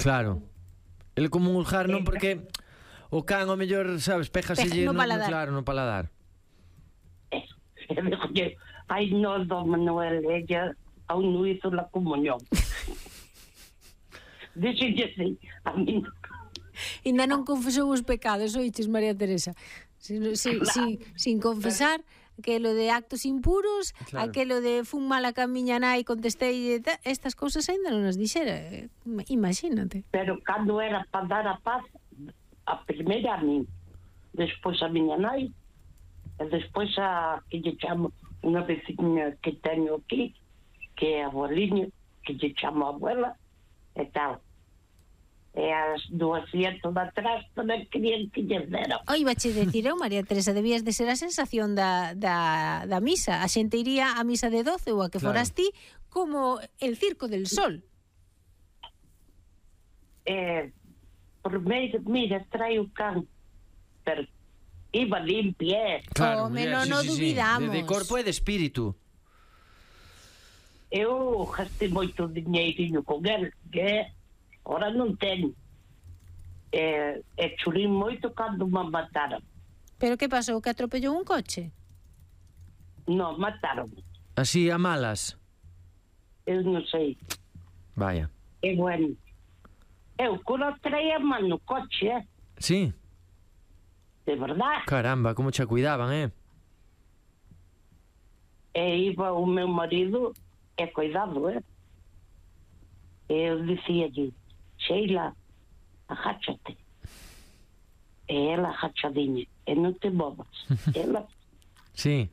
Claro. El comulgar non porque o can ao mellor, sabes, péjaselle no paladar. Claro, no paladar. E dixolle, ai, no, don Manuel, ella aún non hizo la comunión. Dixolle así, a mí non. Ainda non confesou os pecados, oiches, María Teresa. Sin confesar, aquelo de actos impuros, Claro. aquelo de fun mala camiña nai, contestei, estas cousas ainda non as dixera. Imagínate. Pero cando era para dar a paz, a primeira a mí, despois a miña nai, e despois a que lle chamo unha veciña que teño aquí, que é a abueliña, que lle chamo a abuela, e tal. E as 200 de atrás tamén querían que lles deran. Oi, bache decir eu, María Teresa, debías de ser a sensación da misa. A xente iría a misa de 12 ou a que Claro. foras ti como el Circo del Sol. Primeiro, mira, trae o can, pero iba limpia. Claro, Home, muller, non o dubidamos. De corpo e de espírito. Eu gastei moito dinheirinho con el, que ora non teño. E chulín moito cando me mataron. Pero que pasou? Que atropellou un coche? Non, mataron. Así a malas. Eu non sei. Vaya. E bueno, eu cura traía man no coche, Sí. de verdad. Caramba, como che cuidaban, E iba o meu marido, e cuidado, E eu dicíalle, Sheila, agáchate. E ela agachadiña, e non te movas. Ela, Sí.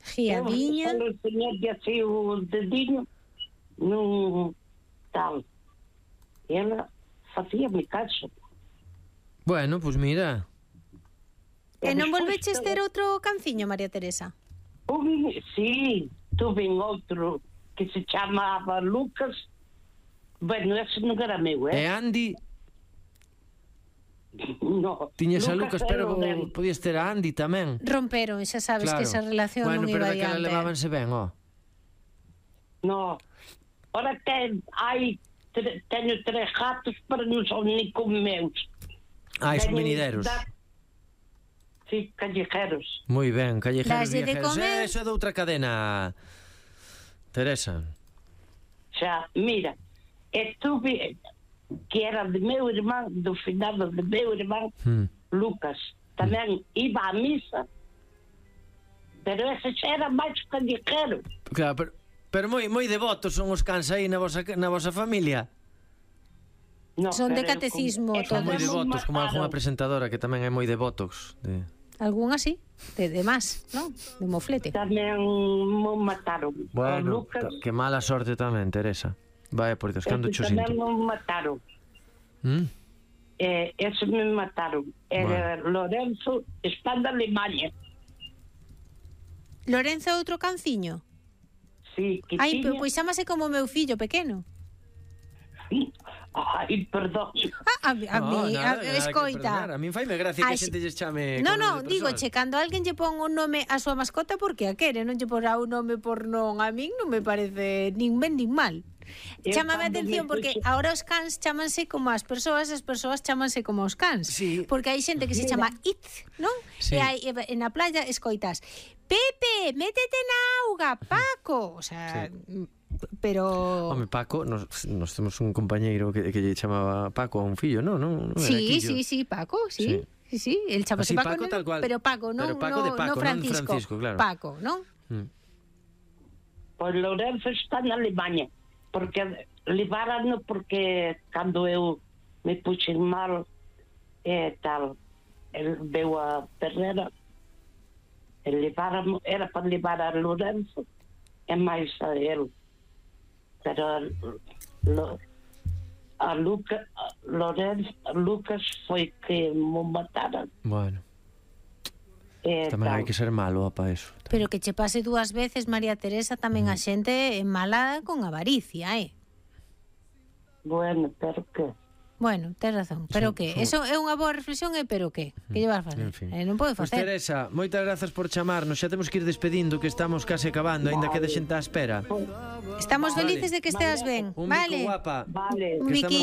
Giadiña. eu enseñarlle así o dediño, non tal. Ela facía-me caso. Bueno, pues mira. E non despois volveches todo- ter outro canciño, María Teresa? Sí, tuve outro que se chamaba Lucas. Bueno, ese non era meu, E Andy, No. tiñas a Lucas, era pero o del- podías ter a Andy tamén. Romperon, xa sabes Claro. que esa relación Bueno, non pero iba daquela adiante. levábanse ben, No. Ora teño 3 gatos, pero non son ni como meus. Son Teño venideros. Sí, callejeros. Moi ben, callejeros Daslle de viajeros. comer. Eso é de outra cadena, Teresa. Xa, mira, estuve que era de meu irmán, do finado de meu irmán, Lucas. Tamén iba á misa, pero ese xa era máis callejero. Claro, pero moi devotos son os cans aí na vosa familia. No, Son de pero catecismo Son moi todos. devotos, como algunha presentadora que tamén é moi devotos de... Algún así, de más, non? De moflete. Tamén mo mataron. Bueno, O Lucas, que mala sorte tamén, Teresa. Vaya, por Dios, cando cho tamén sinto. mo mataron. ¿Mm? Ese me mataron. Era Lorenzo, está de Alemania. Lorenzo é outro canciño? Sí, que Ai, tiña... pois chámase como meu fillo pequeno. Ai, perdón. A mí, escoita. A min faime gracia que a Ai, xente lles chame... No, con no, nome de digo, persoal. che, cando alguén lle pon un nome a súa mascota porque a quere, non lle porá un nome por non, a min non me parece nin ben nin mal. Eu Chámame a cando atención me porque puxo- agora os cans chámanse como as persoas chámanse como os cans. Sí. Porque hai xente que se chama It, non? Sí. E na playa escoitas, Pepe, métete na auga, Paco. O sea, pero... Home, Paco, nos temos un compañeiro que lle chamaba Paco a un fillo, non era Sí, Quillo. sí, Paco, sí. Sí, el chamase Así, Paco, Paco, tal cual. pero Paco, non, Pero Paco de Paco, non Francisco. Francisco, claro. Paco, non? Pois Lorenzo está na Alemania, porque leváranno porque cando eu me puxen mal tal, el veu a Ferrera, era para levar a Lorenzo e máis a ele, pero a Lucas foi que mo mataran. Bueno, tamén hai que ser malo para eso. Pero que che pase 2 veces, María Teresa, tamén a xente é mala con avaricia, Bueno, pero que? Bueno, tes razón, pero que? Eso é unha boa reflexión, pero que? Que lle vas facer? En fin. Non pode Pois facer. Teresa, moitas grazas por chamarnos. Xa temos que ir despedindo, que estamos case acabando, aínda queda xente á espera. Estamos Vale. felices de que esteas ben, Un vale? bico guapa. Vale. Un Que estamos biquiño.